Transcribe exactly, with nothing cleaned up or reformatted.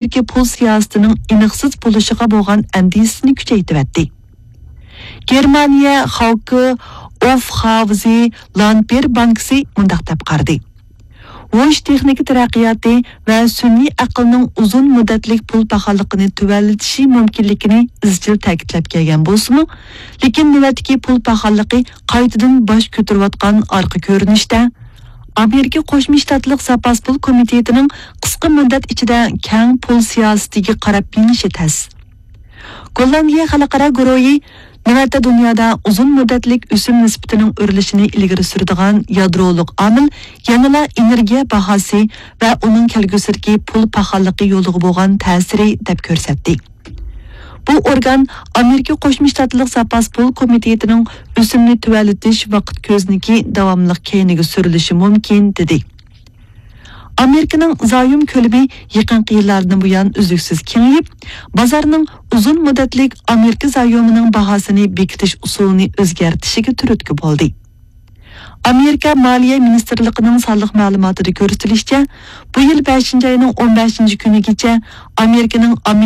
ئامېرىكا پۇل سىياسىتىنىڭ ئېنىقسىز بولۇشىغا بولغان ئەندىشىسىنى كۈچەيتىۋەتتى. گېرمانىيە خاۋكې ئوفخاۋزې لانپېر بانكىسى مۇنداق دەپ قارىدى: ۋوش تېخنىكا تەرەققىياتى ۋە سۈنئىي ئەقىلنىڭ ئۇزۇن مۇددەتلىك پۇل پاخاللىقىنى تۆۋەنلىتىشى مۇمكىنلىكىنى ئىزچىل تەكىتلەپ كەلگەن بولسىمۇ، لېكىن نۆۋەتتىكى پۇل پاخاللىقى قايتىدىن باش كۆتۈرۈۋاتقان ئارقا كۆرۈنۈشتە، ئامېرىكا قوشما شتاتلىق زاپاس پۇل كومىتېتىنىڭ قىسقا مۇددەت ئىچىدە كەڭ پۇل سىياسىتىگە قاراپ مېڭىشى تەس. گوللاندىيە خەلقئارا گۇرۇھى نۆۋەتتە دۇنيادا ئۇزۇن مۇددەتلىك ئۆسۈم نىسبىتىنىڭ ئۆرلىشىنى ئىلگىرى سۈرىدىغان يادرولۇق ئامىل يەنىلا ئېنېرگىيە باھاسى ۋە ئۇنىڭ كەلگۈسىدىكى پۇل پاخاللىقى يولىغا بولغان تەسىرى دەپ كۆرسەتتى. بۇ ئورگان ئامېرىكا قوشما شتاتلىق زاپاس پۇل كومىتېتىنىڭ ئۆسۈمنى تۆۋەنلىتىش ۋاقىت كۆزنىكى داۋاملىق كەينىگە سۈرۈلۈشى مۇمكىن، دېدى. ئامېرىكىنىڭ زايوم كۆلىمى يېقىنقى يىللاردىن بۇيان ئۈزلۈكسىز كېڭىيىپ، بازارنىڭ ئۇزۇن مۇددەتلىك ئامېرىكا زايومىنىڭ باھاسىنى بېكىتىش ئۇسۇلىنى ئۆزگەرتىشىگە تۈرتكە بولدى. ئامېرىكا مالىيە مىنىستىرلىقىنىڭ سانلىق مەلۇماتىدا كۆرسىتىلىشىچە، بۇ يىل بەشىنچى ئاينىڭ ئون بەشىنچى كۈنىگىچە ئامېرىكىنىڭ